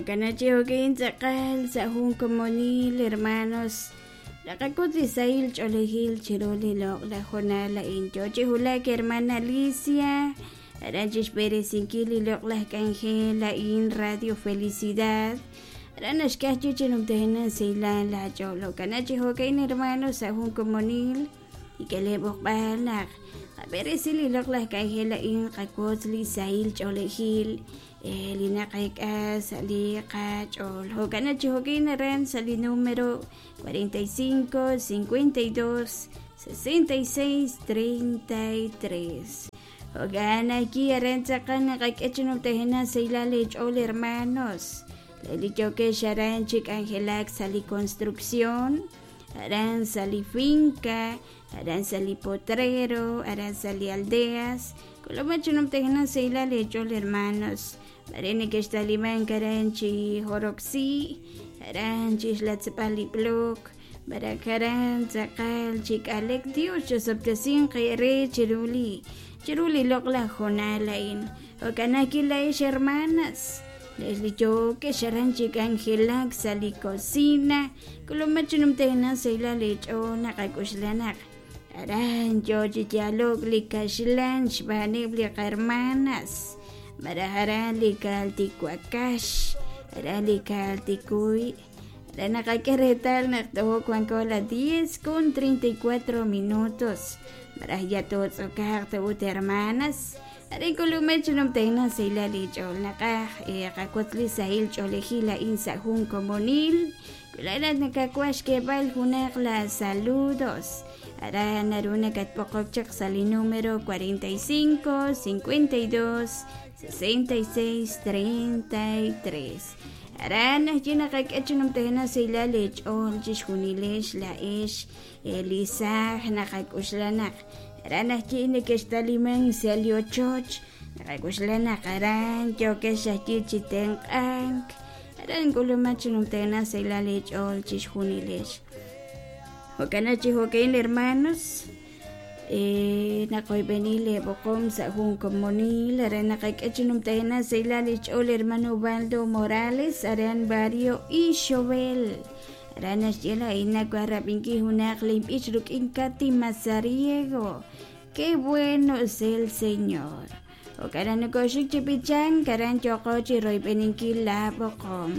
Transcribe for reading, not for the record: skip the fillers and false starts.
Jo'kan chi jo'kin tz'aqal sa' jun komonil hermanos naqak'ut li sahil ch'oolejil chiru li loq'laj hoonal a'in. Yoo chi wulak hermana Alicia aran chixb'eresinkil li loq'laj k'anjel a'in Radio Felicidad. Aran naxk'e ajwi' chi numtajenaq sahilal laach'ool. Jo'kan chi jo'ka'in hermanos sa' jun komonil Nik'e b'oqb'al naq qab'eresi li loq'laj k'anjel a'in qawotz li sahil ch'oolejil li naqek'a sa' li qach'ool. Jo'kan chi jo'kin aran sa' li número 45 52 66 33. Jo'kan ajwi' aran tz'aqal naqak'e chi numtajenaq sahilal leech'ool hermanos. Li yookex aran chi k'anjelak sa' li construcción, aran sa' li finca, aran sa' li potrero, aran sa' li aldeas. K'ulub'aj chi numtajenaq sahilal leech'ool hermanos. Mare nekextalimank aran chi joroksi, aran chi xlatzb'al li blok, malaj aran tz'aqal chi k'alek. Dios chosob'tesinq eere chiru li chiru li loq'laj hoonal a'in. Jo'kan ajwi' laa'ex hermanas, le'ex li yookex aran chi k'anjelak sa' li cocina, k'ulub'aj chi numtajenaq sahilal leech'ool naqak'oxla naq aran yoo chi yaalo'k li kaxlan xb'aaneb' li qarmanas, malaj aran li kaltiwakax, aran li kaltikuy. Re naqak'e reetal naq toj wanko la 10 con 34 minutos, malaj ya tootz'okaq ta ut hermanas. Arin k'ulub'ej chi numtajenaq sahilal leech'ool naqaj qawotz li sahil ch'oolejil a'in sa' jun komonil. Wi laa'at nakawaj xk'eeb'al junaq la saludos, aran naru nakatb'oqok chaq sa' li número 45 52 66 33. Aran ajwi' naqak'e chi numtajenaq sahilal leech'ool chixjunilex laa'ex li saaj naqak'oxla naq aran ajwi' nekextalimank sa' li ochoch, naqak'oxla naq aran yookex ajwi' chi tenq'ank, aran k'ulumaq chi numtajenaq sahilal leech'ool chixjunilex. Jo'kan chi jo'ka'in hermanos, naqoyb'eni leeb'oqom sa' jun komonil aran naqak'e chi numtajenaq sahilal li xch'ool hermano Ubaldo Morales aran barrio Ixobel. Aran naxye laa'in nawaj rab'inkil junaq linb'ich rik'in Katy Mazariego. Qué bueno es el Señor. Jo'kan naq nokoxik chi b'ichank aran yooqo chi royb'eninkil laab'oqom.